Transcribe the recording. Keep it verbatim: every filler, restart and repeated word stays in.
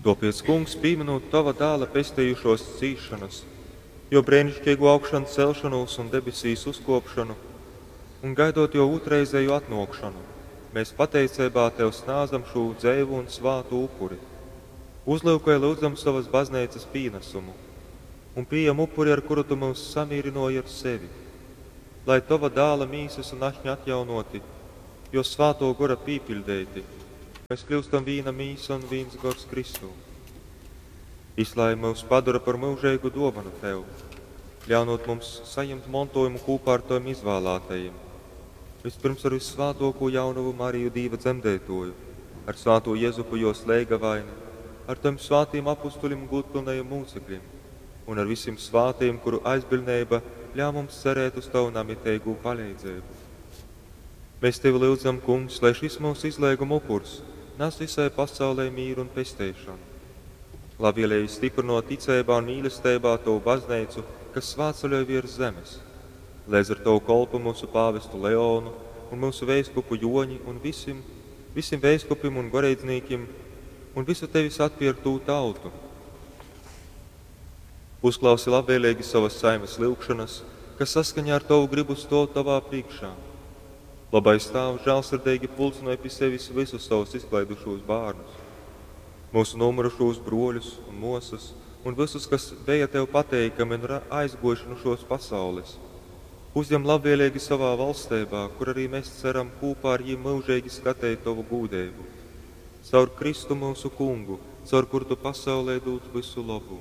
Tōpēc, Kungs, pīminūt Tova dāla pestejušōs cīsšonas, jō breiniškeigū augšancelšonūs un debesīs uzkōpšonu, un gaidot jō ūtrreizēju atnōkšonu, mēs pateiceibā Tev snādzam šū dzeivu un svātu upuri. Uzlyukoj, lyudzam, sovas bazneicas pīnasumu un pījem upuri, ar kuru Tu myus samīrynōji ar sevi. Lai Tova dāla mīsas un ašņa atjaunōti, jō svātō gora pīpiļdeiti, mēs kļūstam vīna mīsa un vīns gors Kristū. Jys lai myus padora par myužeigu dōvanu Tev, ļaunūt mums sajimt montōjumu kūpā ar Tovim izvālātajim. Vispirms ar vyssvātōkū jaunovu Mariju Dīva dzemdeitōju, ar svātū Jezupu jōs leigavaini, ar Tovim svātīm apustuļim un gūdpylnajim mūcekļim, un ar visim svātajim, kuru aizbiļneiba ļauj mums cerēt uz Tavu namiteigū paleidzeibu. Mēs Tevi lyudzam, Kungs, lai šis mūsu izleiguma upurs nas visai pasaulei mīru un pesteišonu. Labvēlīgi stiprinot ticeibā un mīlesteibā Tovu bazneicu, kas svētceļoj virs zemes. Lēdz ar Tavu kolpu mūsu pāvestu Leonu un mūsu veiskupu Joņi un visim, visim veiskupim un goreidznīkim un visu Tevis atpierktū tautu. Uzklausi labvēlīgi savas saimes lyugšanas, kas saskaņā ar Tavu gribu stōv Tavā priekšā. Labais Tāvs žēlsirdīgi pulcinoj pi sevis visus savus izklaidušūs bērnus, mūsu nomirušos broļus un mosas, un visus, kas bija Tev pateikami un ir aizguojuši no šos pasaules. Uzņem labvēlīgi savā valstībā, kur arī mēs ceram kopā ar viņiem mūžīgi skatīt Tavu gūdību. Caur Kristu mūsu kungu, caur kuru Tu pasaulē dod visu labu.